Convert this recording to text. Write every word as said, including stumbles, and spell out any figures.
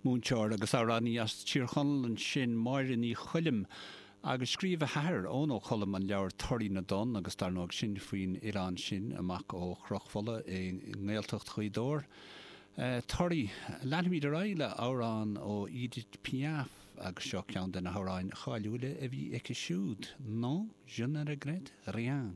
Múinteoir agus amhránaí as Tír Chonaill ansin Máire Ní Choilm agus scríobh a hathair Eoin Ó Colm an leabhar Toraí na dTonn agus dar ndóigh sin faoin oileán sin amach ó Chnoc Fola i nGaeltacht Ghaoth Dobhair. Uh, Toraí leanfaimid ar aghaidh le amhrán ó Edith Piaf agus seo ceann de na hamhráin cháiliúla a bhí aici siúd. Non, je ne regrette rien.